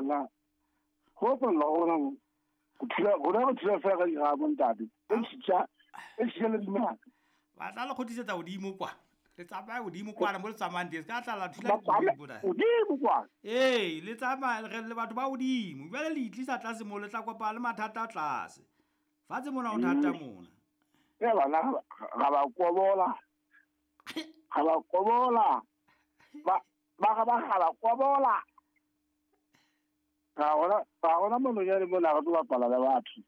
Bana go bapalla gona mo. Go thula rona re thula fela ka diramo ntate. E tšhitša e tšhitša le dinaka. Ba tla le kgothisetsa godimo kwa. Le tsamaya godimo kwana mo le tsamayang teng. Se ka tla la thula Ba dikoloi tsamaye mona. godimo kwa. Ee, le tsamaya re le batho ba godimo. Jwale le itlisa tlase mo le tla kopana le mathata tlase. Fatshe mona ho thata mona. E bana ga ba kobola. Ga ba kobola. Ba ba ga ba ga ba kobola. Ga gona mononyane mona re tlo bapala le batho.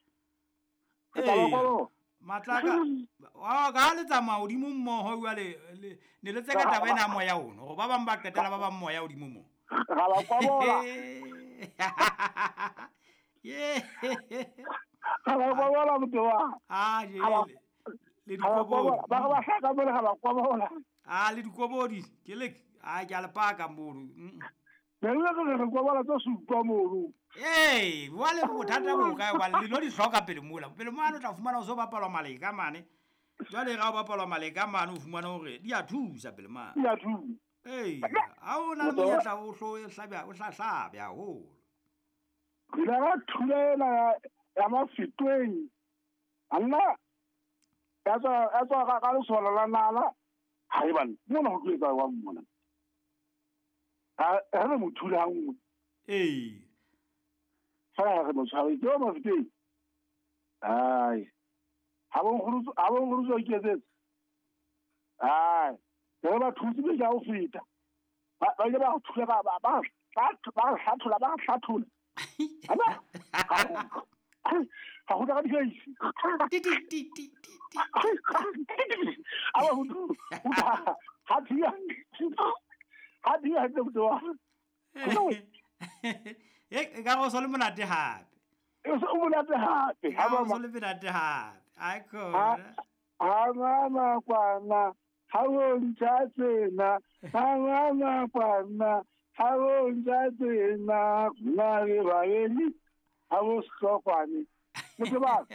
Re tla ba Ee. kobola. Matlaka wa ka ha le tsamaya hodimo mmoho jwale ne le tseka taba ena ya moya ono gore ba bang ba qetela ba bang moya hodimo mo. Ga ba kobola. Ye. Ga ba kobola motho wa. Ah, Ga ba jele. Le ga ba dikobodi. kobola. Ba ga ba hlaka mole ga ba kobola. Ah, le dikobodi. Ke le ah ke a le paka mono. Ne re re re kobola tse supa mono. Ee, jwale bothata bo kae hobane le no di hloka pele mola. Pele mane o tla fumana o so bapalwa maleka mane. Jwale ga o bapalwa maleka mane o fumana hore di a thusa pele mane. Di a thusa. Ee, ha o na le monyetla o hlo hlabya o hlahlabya haholo. Re ile ra thula ena ya Mafetweng. Anna ya tswa ka lesolo la nala. Hai bana, mona ho tlo etsa jwang mona? Ha re mo thula ha nngwe. Ee. Fela ha re mo tshware ke wa Mafetweng. Ai. Ha bo nkgolotso ke etsetse. Ai. Re ba thutse be ja ho feta. Ba ile ba thula ba ba ba ba hlathola ba hlathola. Ana. Ga go ka dikaisi. Ti ti ti ti ti ti. A ba ho ha thia. Ha thia hantle motho wa. E ka go so le monate hape. E o monate hape. Ha ba so le monate hape. Ai khona. Ha mama kwana. Ha o ntša tsena. Ha mama kwana. Ha o ntša tsena. Nna le babedi. Ha bo sehlokwane. Motho ba.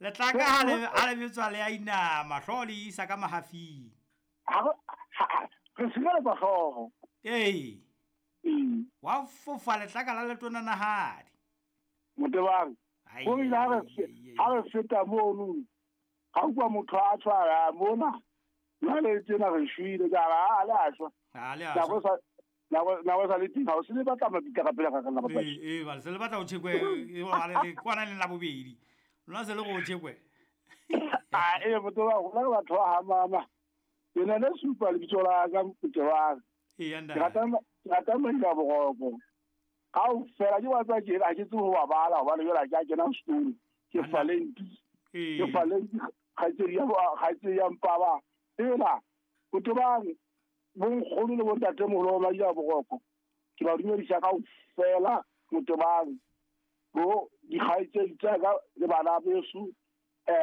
Letlaka ha le betswa le a inama, hlooho le isa ka mahafing. Ha re sireletsa hlooho. Ee. Ee. Wa fofa letlaka la letona nahadi. Motebang. Ai, Go ile ha re feta mono. Ga utlwa motho a tshwara mona. Jwale tsena re shwele ka ra a le a shwa. Ha le a shwa. Nako sa le teng ha o se le batla mabitla ka pele ga ka la bapadi. Ee, ba se le batla ho tjhekwe e le kwana le la bobedi. Lona se le go tjhekwe. Ah, ee motho wa rona re batho ba ha mama. Ke na le supa lebitso la ka Motebang. Ee, Ke rata Maila Boroko. Kaofela ke wa tswa ke ha ke tsebe ho ba bala hobane jwale ha ke a kena sekolo. Ke Falenti. Ke Falenti kgaitsedi ya Mpaba. Ela Motebang bonkgono le bontatemoholo ba Maila Boroko. Ke ba dumedisa kaofela Motebang. Bo dikgaitsedi tsa ka le bana beso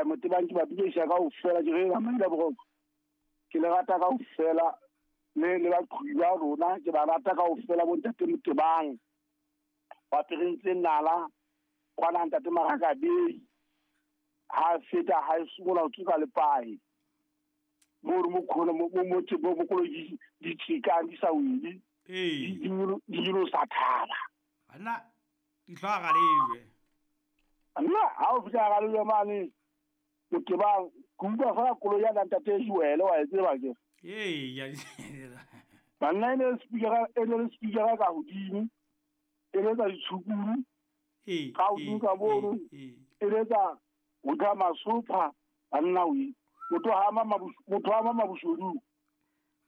Motebang ke ba dumedisa kaofela ke re Maila Boroko. Ke le rata kaofela le baqhubi ba rona ke ba rata kaofela bontate Motebang. Ba perentse nala kwana ntate Marakabei. Ha feta ha simola ho tsoka lepae. Mo re mo khona mo mo mo mo koloi di tshikang di sa wele. Ee. Di nyolosa thaba. Banna di hlwa ga lejwe. Nna ha o fihla ga lejwe mane Motebang ke utlwa fela koloi ya ntate Joel wa e tseba ke. Ee, ya. Banna e ne le speaker ka hodimo. E letsa ditshukuru. Ee. Ka hodimo ka mono. Ee. E letsa ho tla masopha banna we. Motho ha ama mabushodu.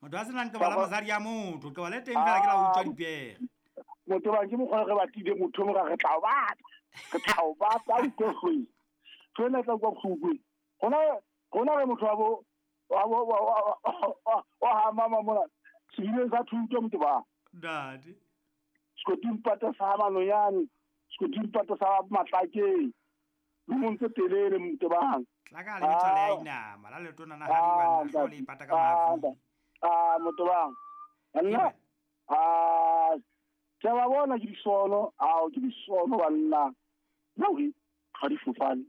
Motho a senang qeba la mosadi ya motho, qeba le teng fela ke la utswa dipere. Motho ba ke mokgwa re batlile motho mo re tla o batla. Re tla o batla o utlwe. Tsena tla kwa bohlokwe. Hona re motho wa bo wa ha mama mona. Sebile sa thuto motho ba. Ntate. Sekoting pata sa Manonyane, sekoting pata sa Matlakeng. Le montse telele motho ba. Tlaka le bitswa le a inama, la letona na hadi banna hlooho le ipata ka mahafing. Ah, motho ba. Nna. Ah, ke ba bona ke disono, ao ke disono banna. Nna ga di fofane.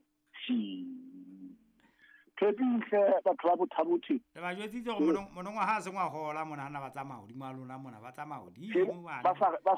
Phepintle batho ba Bothabothe. Le ba jwetsitse hore monongwaha ha se ngwahola mona hana ba tsamaya hodimo a lona mona ba tsamaya hodimo. Ba sa